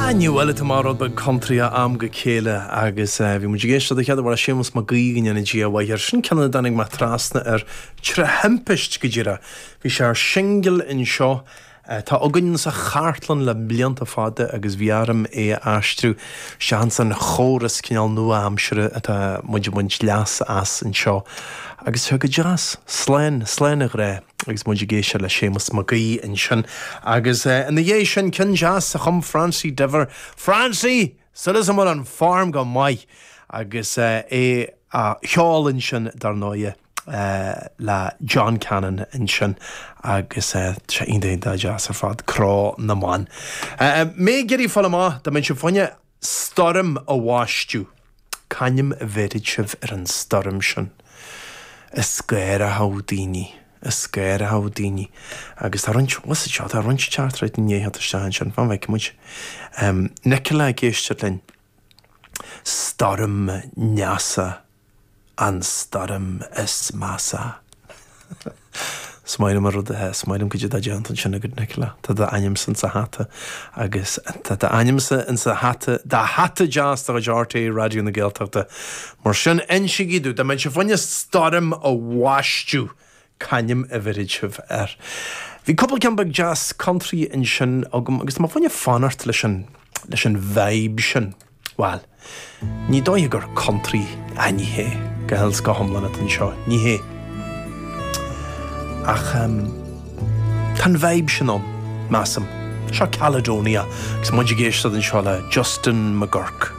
Ní bhfuil tú mar rud beag country ó am go chéile agus bhí muid ag éisteacht don chéad uair le Séamus Mac Aoidh go ndéana Dia a mhaith air. Sin ceann a dtáinig mé trasna air tré thimpist go díreach. Bhí sé ar singil anseo atá againn sa chartlann le blianta fada agus bhí orm é a aistriú isteach ins an chóras cineál nua-aimseartha atá muid ag baint leas as anseo agus tá go deas. Slán, slán a ghrá agus muid ag éisteacht le Séamus Mac Aoidh ansin agus ina dhiaidh sin ceann deas a chum Francie Diver, Francie! Súil agam go bhfuil an form go maith agus é á cheol ansin dar ndóighe. le John Cannon ansin agus tá sé iontach iontach deas ar fad, Cró na mBan. Mé ag iarraidh fáil amach, dá mbeadh sibh fá choinne stoirm a bhaisteadh, c'ainm a bhéarfadh sibh ar an stoirm sin? Is gáireochadh daoine, is gáireochadh daoine. Agus tá roinnt, what's it seo, tá roinnt teachtaireachtaí i ndiaidh theacht isteach ansin, fan go bhfeicfidh muid. Nicola ag éisteacht linn. Stoirm Neasa. An stoirm is measa. Is maith liom an rud, is maith liom cad é atá déanta ansin agat Nicola. Tá d'ainmse insa hata agus tá d'ainmse insa hata, do hata deas de chuid RTÉ Raidió na Gaeltachta. Mar sin, insígí domh, dá mbeadh sibh fá choinne stoirm a bhaisteadh, c'ainm a bhéarfadh sibh air? Bhí cúpla ceann beag deas country ansin agam agus tá mé fá choinne fanacht leis an, leis an vibe sin. Bhuel, ní dóiche gur country, ah ní hé, go huile is go hiomlán atá anseo, ní hé. Ach tá an vibe sin ann, measaim. Seo Caledonia agus muid ag éisteacht anseo le Justin McGuirk.